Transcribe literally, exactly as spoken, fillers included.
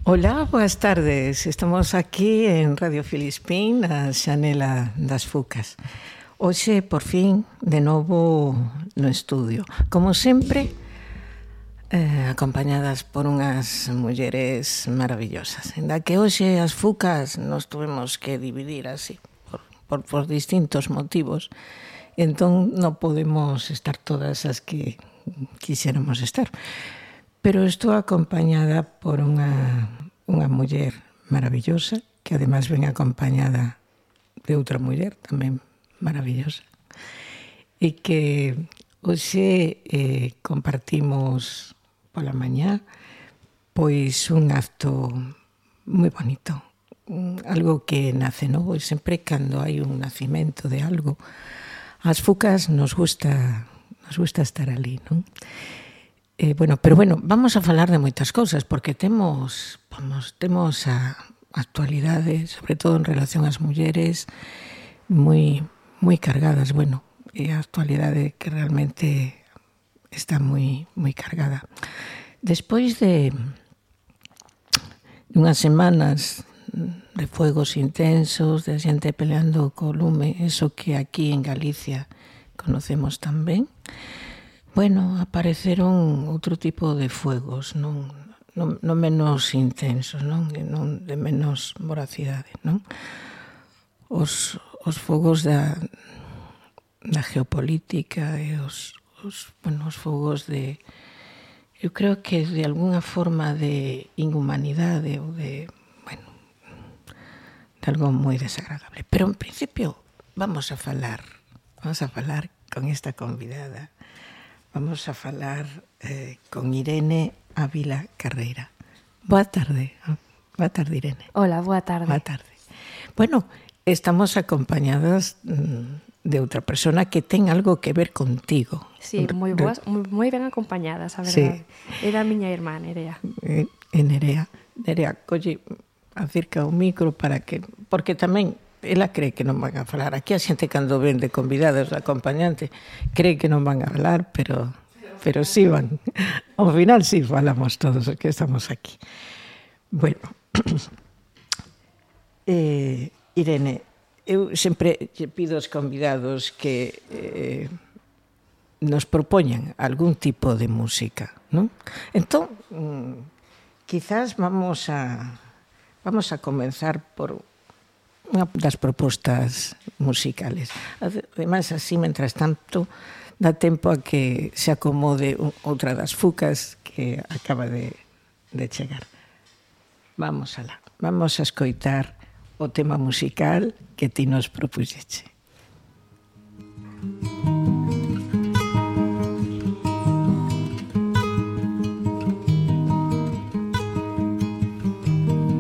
Ola, boas tardes. Estamos aquí en Radio Filispín, na xanela das Fucas. Hoxe, por fin, de novo no estudio. Como sempre, eh, acompañadas por unhas mulleres maravillosas. Ainda que hoxe as Fucas nos tuvemos que dividir así, por, por, por distintos motivos. Entón, non podemos estar todas as que quixéramos estar. Pero estou acompañada por unha, unha muller maravillosa, que ademais ven acompañada de outra muller tamén maravillosa, e que hoxe eh, compartimos pola mañá pois un acto moi bonito, algo que nace novo, e sempre cando hai un nacimento de algo, as Fucas nos gusta, nos gusta estar ali, non? Eh, bueno, pero bueno, vamos a falar de moitas cousas porque temos, vamos, temos a actualidade, sobre todo en relación ás mulleres, moi moi cargadas, bueno, é a actualidade que realmente está moi moi cargada. Despois de unhas semanas de fuegos intensos, de xente peleando co lume, eso que aquí en Galicia conocemos tan ben, bueno, apareceron outro tipo de fuegos, non, non, non menos intensos, non, non de menos voracidade, non? Os, os fogos da, da geopolítica e os, os, bueno, os fogos de, eu creo que de alguna forma de inhumanidade ou de, bueno, de algo moi desagradable. Pero en principio vamos a falar, vamos a falar con esta convidada. Vamos a falar eh, con Irene Ávila Carreira. Boa tarde. Boa tarde, Irene. Hola, boa tarde. Boa tarde. Bueno, estamos acompañadas de outra persona que ten algo que ver contigo. Sí, moi boas, moi ben acompañadas, a verdade. Sí. Era a miña irmá, Nerea. Eh, Nerea. Nerea, colle, acerca o micro para que... Porque tamén... ela cree que non van a falar. Aquí a xente cando ven de convidados de acompañante cree que non van a falar, pero pero sí van. Ao final sí falamos todos os que estamos aquí. Bueno, eh, Irene, eu sempre lle pido aos convidados que eh, nos propoñan algún tipo de música, non? Entón, quizás vamos a vamos a comenzar por unha das propostas musicales. Ademais, así, mentras tanto, dá tempo a que se acomode outra das Fucas que acaba de, de chegar. Vamos alá. Vamos a escoitar o tema musical que ti nos propuxeche.